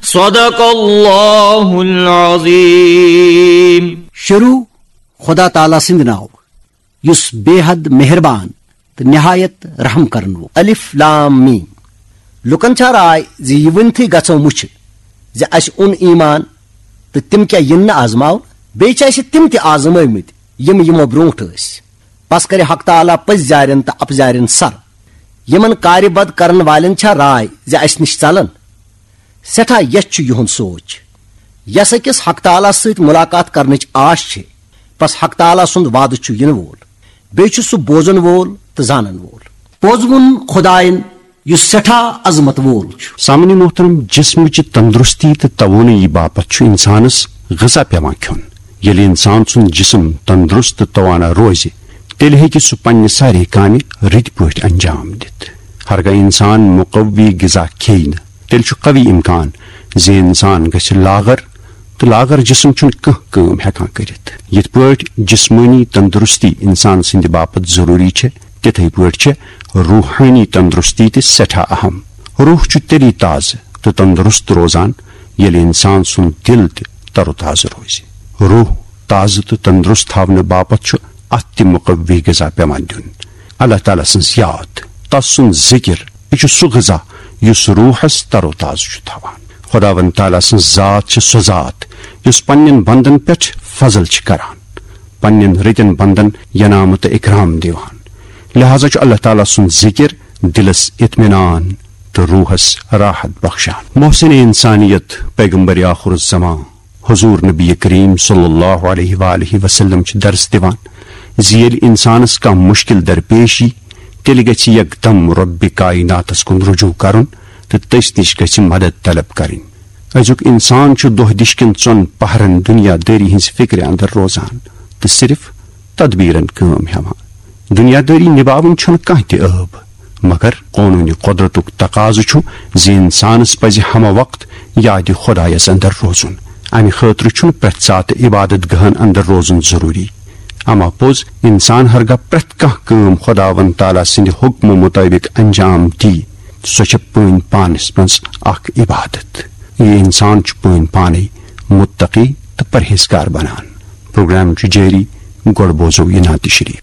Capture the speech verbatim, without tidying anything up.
صدق اللہ العظیم۔ شروع خدا تعالیٰ سٕنٛدِ ناوٕ، یُس بے حد مہربان تہٕ نہایت رحم کرن وول۔ الف لام میم۔ لوٗکن چھا راے زِ یہِ ؤنتھٕے گژھو مُچھِ زِ اسہِ اوٚن ایمان تہٕ تِم کیٛاہ یِن نہٕ آزماونہٕ؟ بیٚیہِ چھِ اسہِ تِم تہِ آزمٲومٕتۍ یِم یِمو برونٛٹھ ٲسۍ۔ پس کرِ حق تعالیٰ پٔزۍ زارٮ۪ن تہٕ اپزارٮ۪ن سر۔ یِمن کارِ بد کرن والٮ۪ن چھا راے زِ اسہِ نِش ژلن؟ سٮ۪ٹھاہ یژھ چھُ یِہُنٛد سونچ۔ یس أکِس حق تعالیٰ سۭتۍ ملاقات کرنٕچ آش چھِ، بس حق تعالیٰ سُنٛد وعدٕ چھُ یِنہٕ وول۔ بیٚیہِ چھُ سُہ بوزن وول تہٕ زانن وول۔ پوٚز ووٚن خدایَن، یُس سٮ۪ٹھاہ عظمت وول چھُ۔ سامعیٖن محترم، جسمٕچہِ تندرستی تہٕ توانٲیی باپتھ چھُ انسانس غذا پٮ۪وان کھیوٚن۔ ییٚلہِ انسان سُنٛد جسم تندرست تہٕ توانا روزِ، تیٚلہِ ہیٚکہِ سُہ پننہِ سارے کامہِ رٕتۍ پٲٹھۍ انجام دِتھ۔ ہرگاہ انسان مقوی غذا کھیٚیہِ نہٕ، تیٚلہِ چھُ قوی امکان زِ انسان گژھِ لاغر، تہٕ لاغر جسم چھُنہٕ کانٛہہ کٲم ہٮ۪کان کٔرِتھ۔ یِتھ پٲٹھۍ جسمٲنی تندرستی انسان سٕنٛدِ باپتھ ضروٗری چھےٚ، تِتھے پٲٹھۍ چھےٚ روحٲنی تندرستی تہِ سٮ۪ٹھاہ اہم۔ روح چھُ تیٚلی تازٕ تہٕ تندرست روزان، ییٚلہِ انسان سُنٛد دِل تہِ تر و تازٕ روزِ۔ روح تازٕ تہٕ تندرست تھاونہٕ باپتھ چھُ اتھ تہِ مقوی غذا پٮ۪وان دیُن۔ اللہ تعالیٰ سٕنٛز یاد، تس سُنٛد ذکر، یہِ چھُ سُہ غذا یُس روحس تر و تازٕ چھُ تھاوان۔ خداوند تعالیٰ سٕنٛز ذات چھِ سۄ ذات یُس پننٮ۪ن بندن پٮ۪ٹھ فضل چھِ کران، پننٮ۪ن رٕتٮ۪ن بندن ینامہٕ تہٕ اکرام دِوان۔ لہذا چھُ اللہ تعالیٰ سُنٛد ذکر دِلس اطمینان تہٕ روحس راحت بخشان۔ محسن انسانیت پیغمبر آخر الزمان حضور نبی کریم صلی اللہ علیہ وآلہ وسلم چھِ درس دِوان زِ ییٚلہِ انسانس کانٛہہ مشکل درپیش یی، تیٚلہِ گژھِ یکدم رۄبِ کائناتس کُن رجوع کرُن تہٕ تٔسۍ نِش گژھِ مدد طلب کرٕنۍ۔ أزیُک انسان چھُ دۄہ دِش کٮ۪ن ژۄن پہرن دنیا دٲری ہٕنٛزِ فکرِ اندر روزان تہٕ صرف تدبیرن کٲم ہٮ۪وان۔ دنیا دٲری نباوٕنۍ چھُنہٕ کانٛہہ تہِ عٲب، مگر قونوٗنِ قۄدرتُک تقاضہٕ چھُ زِ انسانس پزِ ہمہ وقت یادِ خدایس اندر روزُن۔ امہِ خٲطرٕ چھُنہٕ پرٛٮ۪تھ ساتہٕ عبادت گاہن اندر روزُن ضروٗری۔ اما پوٚز، انسان ہرگاہ پرٛٮ۪تھ کانٛہہ کٲم خداوند تعالیٰ سٕنٛدِ حکمہٕ مطٲبق انجام دی، سۄ چھےٚ پٲنۍ پانس منٛز اکھ عبادت۔ یہِ انسان چھُ پٲنۍ پانے متقی تہٕ پرہیزگار بنان۔ پروگرام چھُ جٲری، گۄڈٕ بوزو یہِ نعتِ شریف۔